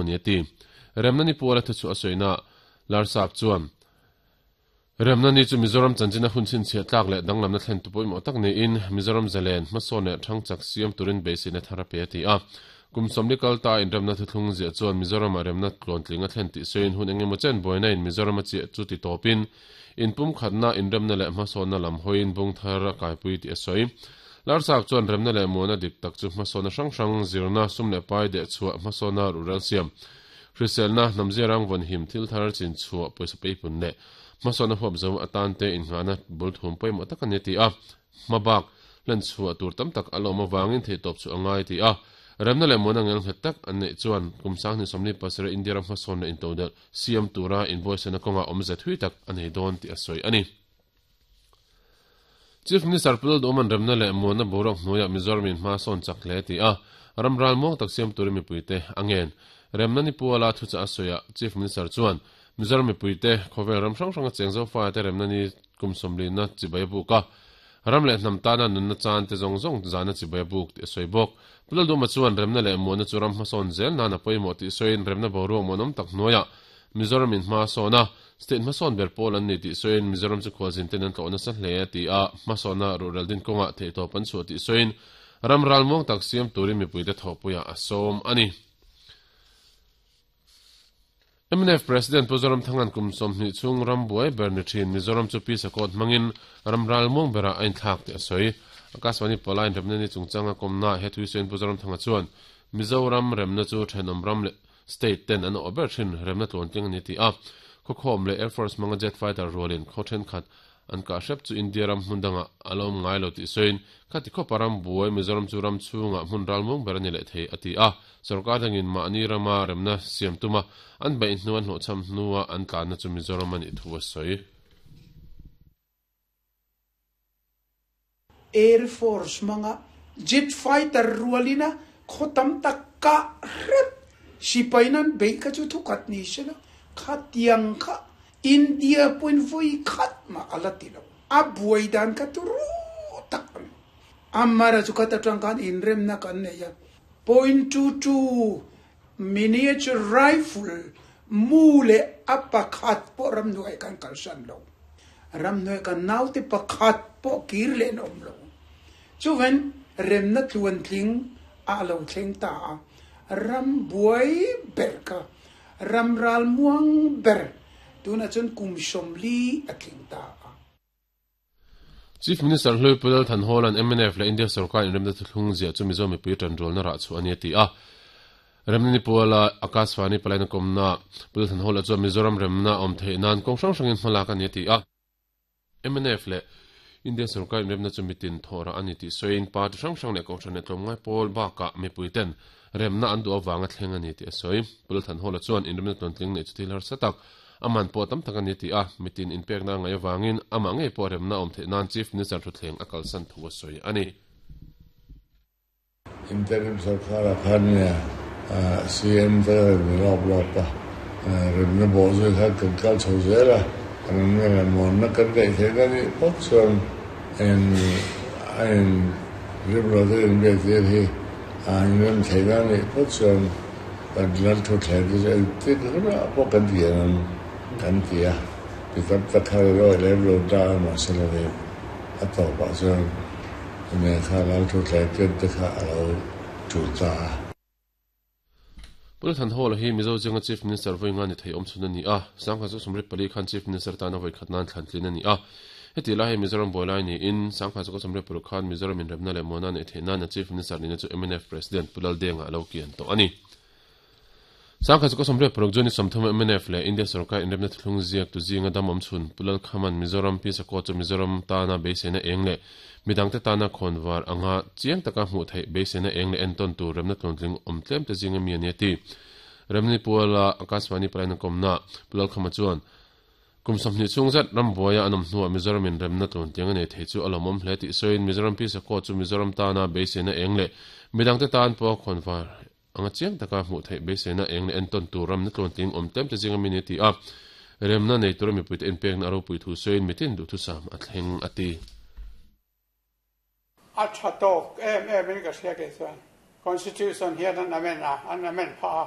ni a ti. Remna ni puala thuchhuah a sawina Larsap chuan, Remna ni chu Mizoram chanchina hun chhinchhiah tlak leh danglamna thlentu pawimawh tak niin Mizoram zalen, hmasawn leh thangchak siam turin beiseina thar a pe a ti a. Kum sawmli kal ta inremna thuthlung ziah chuan Mizoramah remna tluantling a thlen tih sawiin hun engemaw chen buaina in Mizoram a chiah chu ti tawpin inpumkhatna, inremna leh hmasawnna lam hawiin bung thar a kaipui tih a sawi. Larsap chuan remna leh muana dik tak chu hmasawnna hrang hrang, zirna, sum leh pai dehchhuah, hmasawnna ruhrel siam, Hriselna, hnamzia rang vawnhim, thil thar chin chhuah, pawisa peipun leh hmasawnna huap zo atan te innghahna bul thum pawimawh tak a ni a ti a. Hma bak hlen chhuah tur tam tak a lawm avangin theihtawp chu a ngai a ti a. Remna leh muana ngelnghet tak an neih chuan kum sanghnih 47 India ram hmasawn leh intodelh siam tura inbuaisana kawngah awmze thui tak a nei dawn tih a sawi a ni. Chief Minister Pu Lalduhawman remna leh muanna boruak hnuaiah Mizoram in hma sawn chak hle ti a, ram ral muang tak siam turin mipuite a ngen. Remna ni puala thuchah a sawiah Chief Minister chuan Mizoram mipuite khawvel ram hrang hranga cheng Zofate remna ni kum sawmlina chibai a buk a, ram leh hnam tana nunna chan te zawng zawng zana chibai a buk tih a sawi bawk. Pu Lalduhawma chuan remna leh muanna chu ram hmasawn zel nan a pawimawh tih sawiin remna boruak muanawm tak hnuaiah Mizoram in hma sawn a, State hmasawn ber pawl an ni tih sawiin Mizoram chu khualzin ten an tlawh nasa hle a ti a, hmasawnna ruhrel din kawngah theihtawp an chhuah tih sawiin ram ralmuang tak siam turin mipuite thawhpuiah a sawm a ni. Mnf President Pu Zoramthanga'n kum 20 chhung ram buai ber ni thin Mizoram chu Pi Sakawt hmangin ram ralmuang berah a inthlak tih a sawi. Akashvani Pawlaiin remna ni chungchanga kawmnaah he thuisawiin Pu Zoramthanga chuan Mizoram remna chu thenawm ram leh State ten an awh ber thin remna tluantling a ni tih a, khawkhawm leh Air Force hmanga jet fighter rualin khaw thenkhat an kah hrep chu India ram hmun dangah a la awm ngai lo tih sawiin, khati khawpa ram buai Mizoram chu ram chhungah hmun ralmuang ber a ni leh thei a ti a, sorkar dangin mahni rama remna siam tuma an beih hnu an hlawhchham hnua an tlanna chu Mizoram a nih thu a sawi. Air Force hmanga jet fighter rualina khaw tam tak kah hrep sipai nan beih kha chu thukhat ni se la, khatiang kha India pawhin vawi khat mah a la ti lo. A buai dan kha turu tak a ni. Amara chu khat atang khan inremna kan nei a, point 22 miniature rifle mu leh a pakhat pawh ramhnuai kan kalsan lo. Ramhnuai kan naute pakhat pawh kir leh an awm lo. Chuven remna tluantling a lo thleng ta a, ram buai ber kha ram ralmuang ber tunah chuan kum 40 a tling ta a. Chief Minister Hlui Pu Lal Thanhawla'n mnf leh India sorkar inremna thuthlung ziah chu Mizo mipui tanrualna rah chhuah a ni a ti a. Remna ni puala Akashvani palaina kawmna Pu Lal Thanhawla chuan Mizoram remna awm theih nan kawng hrang hrangin hmalak a ni a ti a. Mnf leh India sorkar inremna chu mitin thawh rah a ni tih sawiin party hrang hrang leh kohhran leh tlawmngai pawl bakah mipuiten remna an duh avanga thleng a ni tih a sawi. Pu Lal Thanhawla chuan inremna tluantling neih chu thil harsa tak A man pawh tam tak a ni tih a, mitin inpekna a ngaih avangin amah ngei pawh remna a awm theih nan Chief Minister thutthleng a kalsan thu a sawi a ni. Interim sorkar-ah khan nia CM te ka rawn ni lawp lawp a, remna bawh zui khan kan kal chho zel a, remna leh muanna kan neih theihna nih phawt chuan en a in rimlo te inbiak tir hi a inrem theihna nih phawt chuan Kan lal thutthleng te chu engtin hunah pawh kan ti ang kan ti a, mi tam tak khan an awih lem lo ta a, mahse la ni a tawpah chuan nen kha lal thutthleng ken te kha a lo tul ta a. Pu Thanhawla hi Mizo zinga Chief Minister vawi nga ni thei awm chhun a ni a, Sangha chu 24 khan Chief Minister tana vawi khat nan thlan tlin a ni a. Heti lai hi Mizoram buai lai niin Sangha chu 26 khan Mizoram inremna leh muana neih theih nana Chief Minister nihna chu mnf President Pu Laldenga a lo kian tawh a ni. Sangha chu 26 June ni 30 mnf leh India sorkar inremna thuthlung ziak tu zinga dam awm chhun Pu Lalkhaman Mizoram Peace Accord chu Mizoram tana beiseina eng leh midangte tana khawnvar anga chiang taka hmuh theih beiseina eng leh entawn tur remna tluantling awm tlem te zinga mi a ni a ti. Remni Puala Akashvani palaina kawmna Pu Lalkhama chuan Kum 20 chhung zet ram buaia an awm hnuah Mizoram in remna tluantling a nei thei chu a lawmawm hle tih sawiin Mizoram Peace Accord chu Mizoram tana beiseina eng leh midangte tan pawh khawnvar anga chiang taka hmuh theih beiseina eng leh entawn tur ramna tluantling awm tlem te zinga mi ni a ti a, remna nei tura mipuite inpekna a ropui thu sawiin mitin duhthusam a thleng a ti. A tha tawk em em in ka hria kei chuan Constitution hian an amend a, an amend phah a.